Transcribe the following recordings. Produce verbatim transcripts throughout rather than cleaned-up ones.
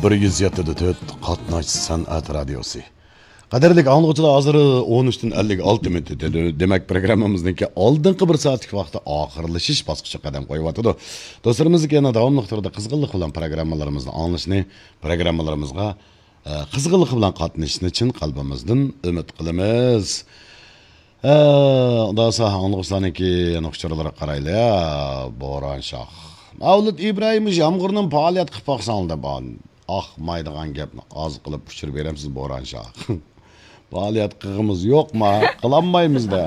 بىر يۈز يەتتە دە تۆت قاتناش سەنئەت رادىيوسى. قەدىرلىك ئاڭلىغۇچىلار، ھازىر ئون ئۈچتىن ئەللىك ئالتە مىنۇت ئۆتىدۇ. دېمەك، پروگراممىمىزنىڭكى ئالدىنقى بىر سائەتلىك ۋاقتى ئاخىرلىشىش باسقۇچىغا قەدەم قويۇۋاتىدۇ. دوستلىرىمىزنىڭكى يەنە داۋاملىق تۈردە قىزغىنلىق بىلەن پروگراممىلىرىمىزنى ئاڭلىشىنى، پروگراممىلىرىمىزغا، ئە، قىزغىنلىق بىلەن قاتنىشىشىنى چىن قەلبىمىزدىن ئۈمىد قىلىمىز. ئە، ئۇنداق بولسا ئاڭلىغۇچىلارنىڭكى يەنە ئۇچۇرلىرىغا قارايلى. بوران شاھ. مەۋلۇت ئىبراھىم، مۇشۇ يامغۇرنىڭ پائالىيەت قىلىپ باقساڭ دەپ. ئاخمايدىغان گەپنى ئاز قىلىپ ئۇچۇر بېرەمسىز، بوران شاھ. پائالىيەت قىلغىمىز يوقما؟ قىلالمايمىز-دە.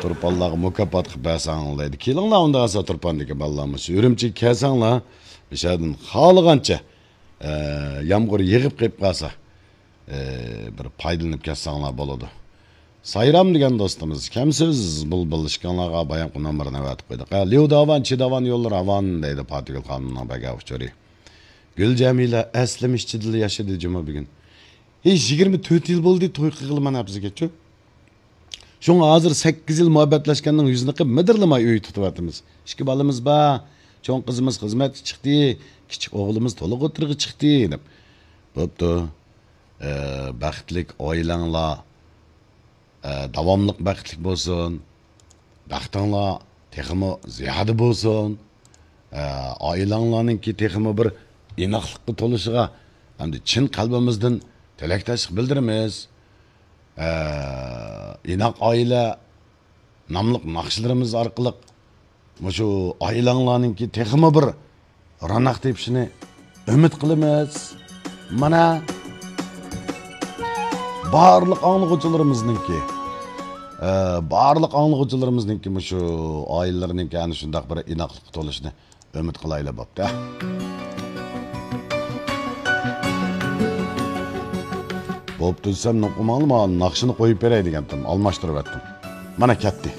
تۇرپانلارغا مۇكاپات قىلىپ بەرسەڭ دەيدۇ. كېلىڭلار ئۇنداق بولسا، تۇرپاندىكى بالىلار، مۇشۇ ئۈرۈمچىگە كەلسەڭلار، مۇشۇ يەردىن خالىغانچە، ئە، يامغۇر يېغىپ قېلىپ قالسا، ئە، بىر پايدىلىنىپ كەتسەڭلار بولىدۇ. سايرام دېگەن دوستىمىز، كەمسىز بۇلبۇل، ئىككىڭلارغا بايامقى نومۇرنى ئەۋەتىپ قويدۇق. ھە، ليۇ داۋان، چى داۋان يوللىرى راۋان دەيدۇ پاتىگۈل خانىمنىڭ بەگە ئۇچۇرى. گۈل جەمىلە ئەسلىمە ئىچىدىلا ياشىدى جۇمۇ بۈگۈن. ھېي، يىگىرمە تۆت يىل بولدى توي قىلغىلى مانا بىزگىچۇ. شۇڭا ھازىر سەككىز يىل مۇھەببەتلەشكەننىڭ يۈزىنى قىپ مىدىرلىماي ئۆي تۇتۇۋاتىمىز. ئىككى بالىمىز بار. چوڭ قىزىمىز خىزمەتكە چىقتى، كىچىك ئوغلىمىز تولۇق ئوتتۇرىغا چىقتى دەپ. بوپتۇ. ئە، بەختلىك ئائىلەڭلار، ئە، داۋاملىق بەختلىك بولسۇن. بەختىڭلار تېخىمۇ زىيادە بولسۇن. ئە، ئائىلەڭلارنىڭكى تېخىمۇ بىر ئىناقلىققا تولۇشىغا ھەمدە چىن قەلبىمىزدىن تىلەكداشلىق بىلدۈرىمىز. ئە، ئىناق ئائىلە ناملىق ناخشىلىرىمىز ئارقىلىق مۇشۇ ئائىلەڭلارنىڭكى تېخىمۇ بىر روناق تېپىشىنى ئۈمىد قىلىمىز. مانا، بارلىق ئاڭلىغۇچىلىرىمىزنىڭكى، ئە، بارلىق ئاڭلىغۇچىلىرىمىزنىڭكى مۇشۇ ئائىلىلىرىنىڭكى ئەنە شۇنداق بىر ئىناقلىققا تولۇشىنى ئۈمىد قىلايلى، بوپتۇ. بوپتۇ دېسەم، نوقۇماڭلىما، ناخشىنى قويۇپ بېرەي دېگەنتىم، ئالماشتۇرۇۋەتتىم. مانا كەتتى.